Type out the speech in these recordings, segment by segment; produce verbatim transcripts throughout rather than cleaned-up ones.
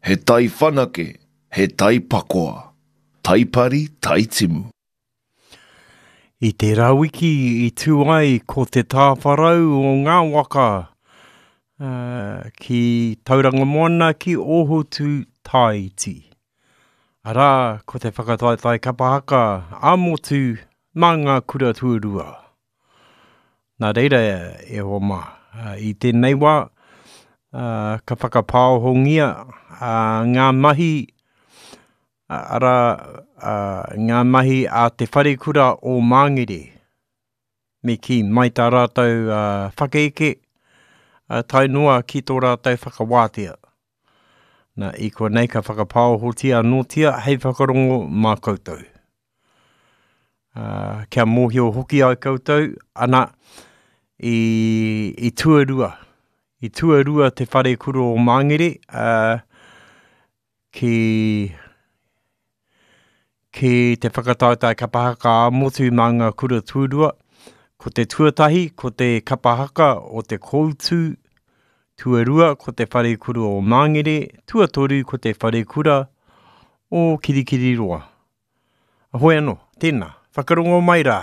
He tai whanake, he tai pakoa. Tai pari, tai timu. I tērā wiki i tū ai ko te tāwharau o ngā waka uh, ki Tauranga Moana ki Ōhotu Tāiti. Arā, ko te whakataetae kapa haka ā-motu mā ngā kura tuarua. Nā reira e hoa mā, i tēnei wā, uh, ka whakapāohongia uh, ngā mahi, arā, uh, ngā mahi a te wharekura o Māngere. Me kī, mai tā rātou uh, whakaeke, uh, tae noa ki tō rātou whakawātea. Nā, i konei ka whakapāohotia anōtia hei whakarongo mā koutou. Uh, kia mōhio hoki ai koutou, ana, i, i tuarua. I tuarua te wharekura o Māngere, uh, ki, ki te whakataetae kapa haka ā-motu mā ngā kura tuarua. Ko te tuatahi, ko te kapa haka o te Koutu, tuarua ko te wharekura o Māngere, tuatoru ko te wharekura o Kirikiriroa. Hoi anō, tēnā, whakarongo mai rā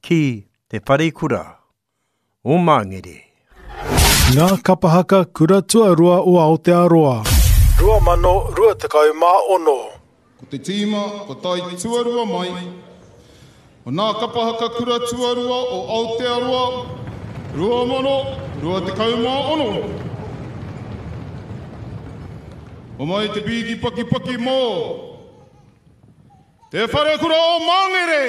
ki te wharekura o Māngere. Ngā kapa haka kura tuarua o Aotearoa. Rua mano, rua tekau mā ono. Ko te tīma, ko tai tuarua mai. O nā kapa haka kura tuarua o Aotearoa, rua mano, rua tekau mā ono. O mai te pīki paki paki mō Te Wharekura o Māngere!